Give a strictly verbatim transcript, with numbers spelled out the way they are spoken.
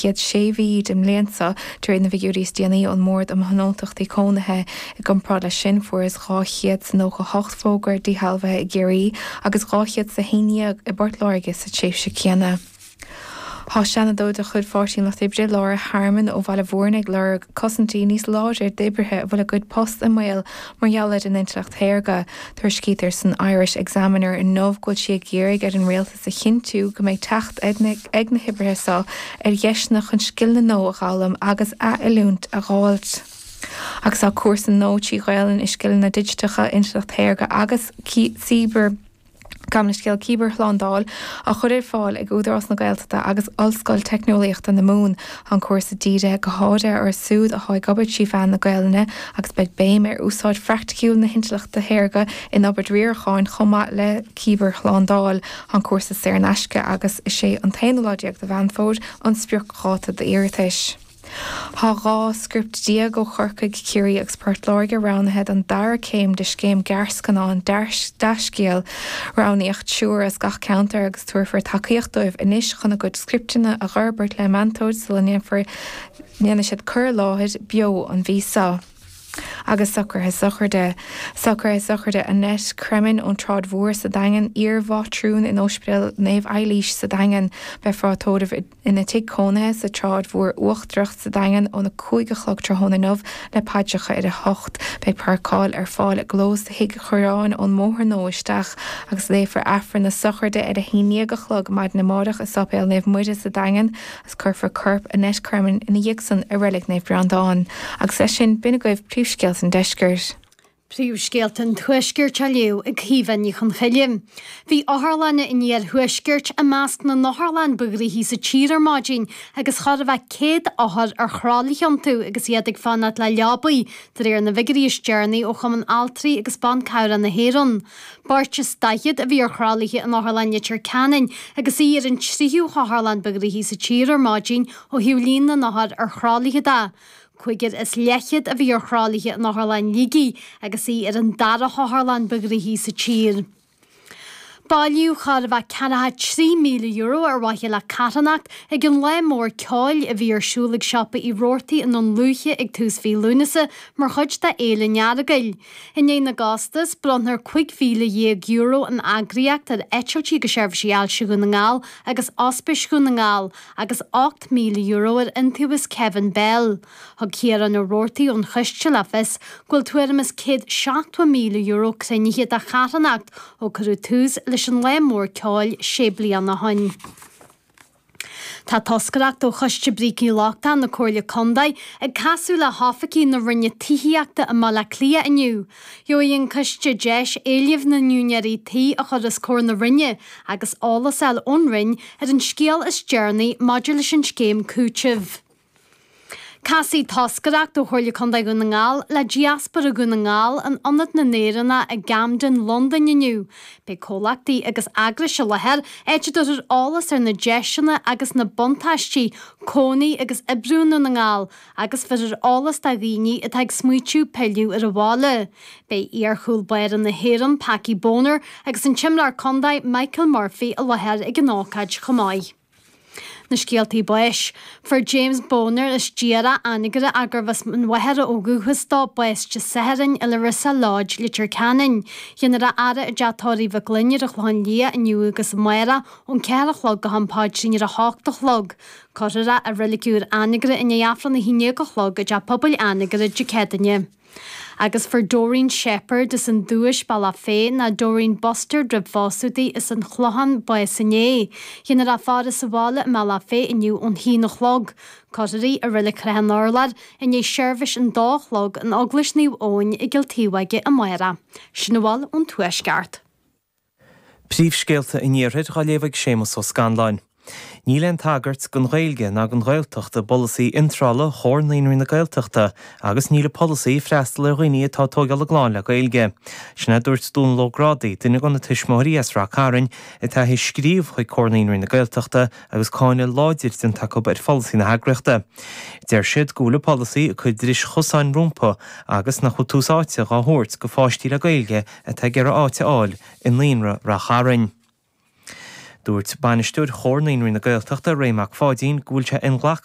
chéad sé mhí den mbliain seo, de réir na bhfigiúirí is déanaí ón mBord um Thionóntachtaí Cónaithe. I gcomparáid leis sin, fuarthas dhá chéad is nócha hocht fógra díshealbhaithe i gCiarraí agus dhá chéad is a haon déag i bPort Láirge sa tréimhse chéanna. Tá Seanadóir de chuid Pháirtí an Lucht Oibre, Laura Harmon ó Bhaile Bhúirne ag lorg cosaintí níos láidre d'oibrithe a bhfuil a gcuid post i mbaol mar gheall ar an intleacht shaorga. Tuairiscítear san Irish Examiner inniu go bhfuil sí ag iarraidh ar an rialtas a chinntiú go mbeidh teacht ag na hoibrithe seo ar dheiseanna chun scileanna nua a fhoghlaim agus athoiliúint a fháilt. Agus tá cúrsa nua trí Ghaelainn i scileanna digiteacha, intleacht shaorga agus cibear Gabh mo leithscéal cibearshlándáil á chur ar fáil ag Údarás na Gaeltachta agus Ollscoil Teicneolaíochta na Mumhan. Tá an cúrsa dírithe go háirithe orthu siúd atá ag obair trí mheán na Gaelainne agus beidh béim ar úsáid phraiticiúil na hintleachta shaorga in obair riaracháin chomh maith le cibearshlándáil. Tá an cúrsa saor in aisce agus is é an t-aonú lá déag de Mheán Fómhair an spriocdháta d'iarratais. Tá dhá script déag ó Chorcaigh, Ciarraí agus Port Láirge roghnaithe don dara céim de scéim gearrscannán Deascéal. Roghnaíodh triúr as gach ceantar agus tabharfar tacaíocht dóibh anois chun a gcuid scripteanna a fhorbairt le meantóir sula ndéanfar ndéanfaidh siad cur i láthair beo an mhí seo. Agus socruithe sochraide. Socruithe sochraide Annette Cremin ón tSráid Mhór sa Daingean, iar-mhátrún in Ospidéal Naomh Eilís sa Daingean. Beifear á tórramh ina tigh cónaithe sa tSráid Mhór Uachtarach sa Daingean óna cúig a chlog tráthnóna inniu le paidreacha ar a hocht. Beidh páirceáil ar fáil i gclós Thigh Chorráin ón mBóthar Nua isteach agus léifear Aifreann na sochraide ar a haon déag a chlog maidin amárach i Sáipéal Naomh Muire sa Daingean agus cuirfear corp Annette Cremin ina dhiaidh san i Reilig Naomh Breandán. Agus leis sin, b'in agaibh príomhscéalta an deiscirt. Príomhscéalta an Tuaiscirt á léamh ag Caoimhe Ní Chonchoille. Bhí otharlanna an iarthuaiscirt i measc na n-otharlann ba ghnoithí sa tír ar maidin agus chóir a bheith céad othar ar thralaí iontu agus iad ag fanacht le leabaí, de réir na bhfigiúirí is deireanaí ó Chumann Altraí agus Ban Cabhrach na hÉireann. Beirt is daichead a bhí ar thralaithe in Otharlann Leitir Ceanainn agus í ar an tríú hotharlann ba ghnoithí sa tír ar maidin ó thaobh líon na n-othar ar thralaithe de. Cúigear is leathchéad a bhí ar thralaithe in Otharlann Shligigh agus í ar an dara hotharlann ba ghnoithí sa tír. Bailíodh chóir a bheith ceathracha trí míle euro ar mhaithe le carthanacht ag an lá mór ceoil a bhí ar siúl ag siopa Uí Robhartaigh i nDún Lúiche ag tús mhí Lúnasa mar chuid de Fhéile an Earagail. I ndiaidh na gcostas, bronnfar cúig mhíle dhéag euro ón eagraíocht ar Eitiltí agus Seirbhísí Ailse Dhún na nGall agus Ospís Dhún na nGall agus ocht míle euro ar Iontaobhas Kevin Bell. Thug Ciarán Ó Robhartaigh ón choiste le fios go bhfuil tuairim is céad seachtó míle euro cruinnithe do charthanacht ó cuireadh tús leis an lá mór ceoil sé bliana ó shin. Tá toscaireacht ó Choiste Brící Lochtacha na Comhairle Contae ag casadh le hoifigigh na Roinne Tithíochta i mBaile Átha Cliath inniu. Gheobhaidh an coiste deis éilimh na n-úinéirí tí a chur os comhair na Roinne agus eolas a fháil ón Roinn ar an scéal is deireanaí maidir leis an scéim cúitimh. Casfaidh toscaireacht ó Chomhairle Contae Dhún na nGall le Diaspóra Dhún na nGall in Ionad na nÉireannach i gCamden, Londain inniu. Beidh comhlachtaí agus eagrais i láthair, áit a dtabharfar eolas ar na deiseanna agus na buntáistí cónaí agus oibriú i nDún na nGall agus bheirfear eolas do dhaoine atá ag smaoitiú pilleadh ar an bhaile. Beidh iar-chúl báire na hÉireann, Packie Bonner, agus an t-imreoir contae Michael Murphy i láthair ag an ócáid chomh maith. Na scéaltaí báis. Fuair James Bonner as Diarra, Anagaire gurbh as an Mhachaire ó dhúchas dó, bás Dé Sathairn i Larissa Lodge, Leitir Ceanainn. Déanfar a fhaire i dteach tórraimh Mhic Gloinn ar an Chlochán Liath inniu agus amárach ón ceathair a chlog go ham paidrín ar a hocht a chlog. Cuirfear é i Reilig Úr Anagaire i ndiaidh Aifreann a haon déag a chlog i dTeach Pobail Anagaire Dé Céadaoine. Agus fuair Doreen Shepherd as an Dubhais, Bealach Féich, nó Doreen Bustard roimh phósadh di, as an Chlochán, bás inné. Déanfar a faire sa bhaile i mBealach Féich inniu ón haon a chlog. Cuirfear í i Reilig Chnoc an Urláir i ndiaidh seirbhís an dó a chlog in Eaglais Naomh Eoin i gCill Taobh amárach. Sin a bhfuil ón Tuaisceart. Príomhscéalta an Iarthair á léamh ag Séamus Ó Scanláin. Níl aon tagairt don Ghaeilge ná don Ghaeltacht i bpolasaí iontrála Chomhar Naíonraí na Gaeltachta agus níl an polasaí ag freastal ar dhaoine atá ag tógáil a gclann le Gaeilge. Sin é a dúirt Dónal Ó Grádaigh, duine de na tuismitheoirí as Rath Cairn atá ag scríobh chuig Comhar Naíonraí na Gaeltachta agus cáineadh láidir déanta acu ar pholasaí na heagraíochta. Deir siad go bhfuil an polasaí ag cur dris chosáin rompu agus nach bhfuil tús áite dhá thabhairt do pháistí le Gaeilge atá ag iarraidh áit a fháil i naíonra Rath Chairn. Dúirt bainisteoir Chomhar Naíonraí na Gaeltachta Ray Mac Pháidín go bhfuil sé inghlactha